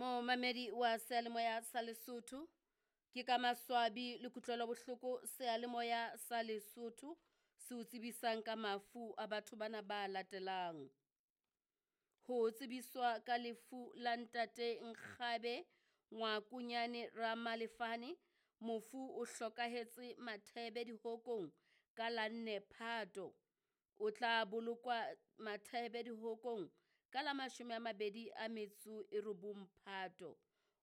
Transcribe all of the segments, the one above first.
Momamedi wa seyalemoya sa Lesotho, ke ka maswabi le kutlwelo bohloko seyalemoya sa Lesotho se o tsebisang ka mafu a batho bana ba latelang. Ho tsebiswa ka lefu la ntate Nkgabe Ngwakunyane Ramalefane, mofu o hlokahetse Mathebe dihokong ka la 4 Phato. O tla bolokwa Mathebe dihokong ka la 29 Phato.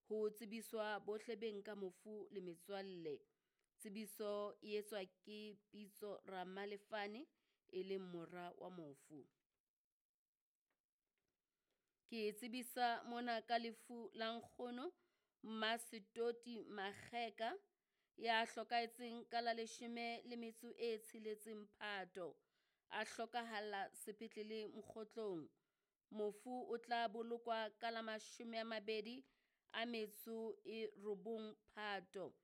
Ho tsebiswa bohle beng ka mofu le metswalle. Tsebiso e etswa ke Pitso Ramalefane e leng mora wa mofu. Ke tsebisa mona ka lefu la nkgono Mmasetoti Makgeka ya hlokahetseng ka la 16 Phato. A hlokahalla sepetlele Mokgotlong. Mofu o tla bolokwa ka la 29 Phato.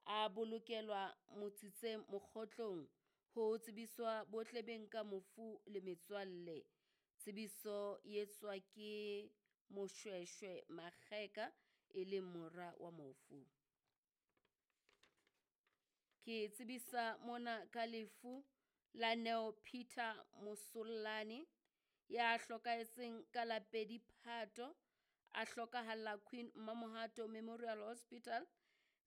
A bolokelwa Motsitseng Mokgotlong. Ho tsebiswa bohle beng ka mofu le metswalle. Tsebiso e etswa ke Moshweshwe Makgeka e leng mora wa mofu. Ke tsebisa mona ka lefu la Neo Peter Mosollane ya hlokahetseng ka la 2 Phato, a hlokahalla Queen Mamohato Memorial Hospital,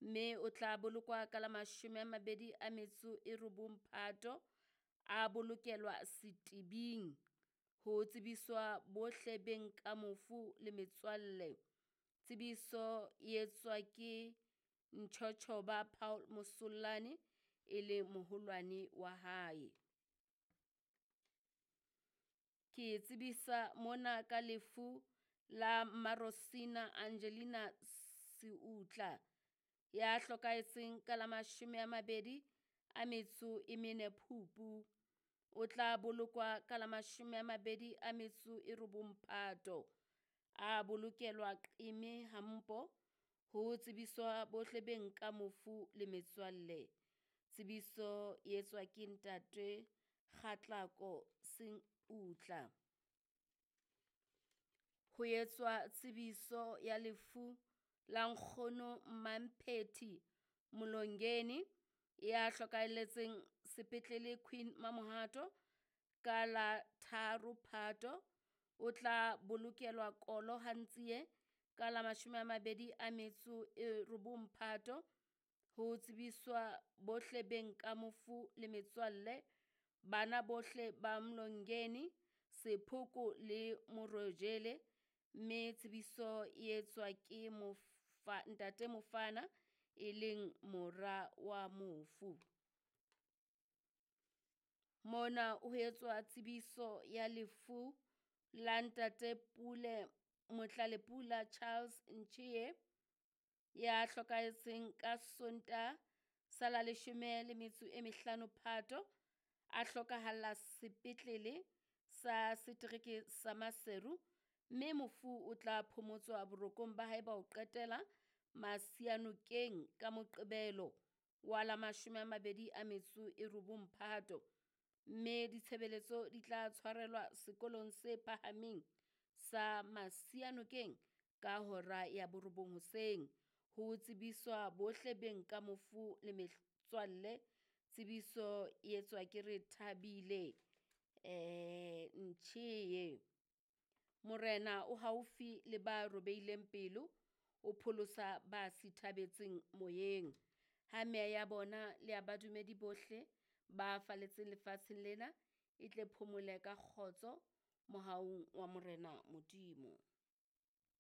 mme o tla bolokwa ka la 29 Phato, a bolokelwa Setibing. Ho tsebiswa bohle beng ka mofu le metswalle. Tsebiso e etswa ke Nchochoba Paul Mosollane e le moholwane wa hae. Ke tsebisa mona ka lefu la Marosina Angelina Seutla ya hlokahetseng ka la 24 Phupu. O tla bolokwa ka la 29 Phato. A bolokelwa Qeme Hampo. Ho tsebiswa bohle beng ka mofu le metswalle. Tsebiso e etswa ke ntate Kgatlako Seutla. Ho etswa tsebiso ya lefu la nkgono Mmamphethi Molongeni ya hlokahelletseng sepetlele Queen Mamohato ka la 3 Phato. O tla bolokelwa Kolo Hantsie ka la 29 Phato. Ho tsebiswa bohle beng ka mofu le metswalle, bana bohle ba Mlongeni, Sephoko le Morojele, mme tsebiso e etswa ke ntate Mofana e leng mora wa mofu. Mona ho etswa tsebiso ya lefu la ntate Pule Motlalepula Charles Nchie ya hlokahetseng ka Sontaha sa la 15 Phato, a hlokahalla sepetlele sa setereke sa Maseru, mme mofu o tla phomotswa borokong ba hae ba ho qetela Masianokeng ka Moqebelo wa la 29 Phato, mme ditshebeletso di tla tshwarelwa sekolong se phahameng sa Masianokeng ka hora ya 9 hoseng. Ho tsebiswa bohle beng ka mofu le metswalle. Tsebiso e etswa ke re Thabile Nchie. Morena o haufi le ba robeileng pelo, o pholosa ba sithabetseng moyeng. Ha meya ya bona le ya badumedi bohle ba faletseng lefatsheng lena e tle phomole ka kgotso mohaung wa Morena Modimo.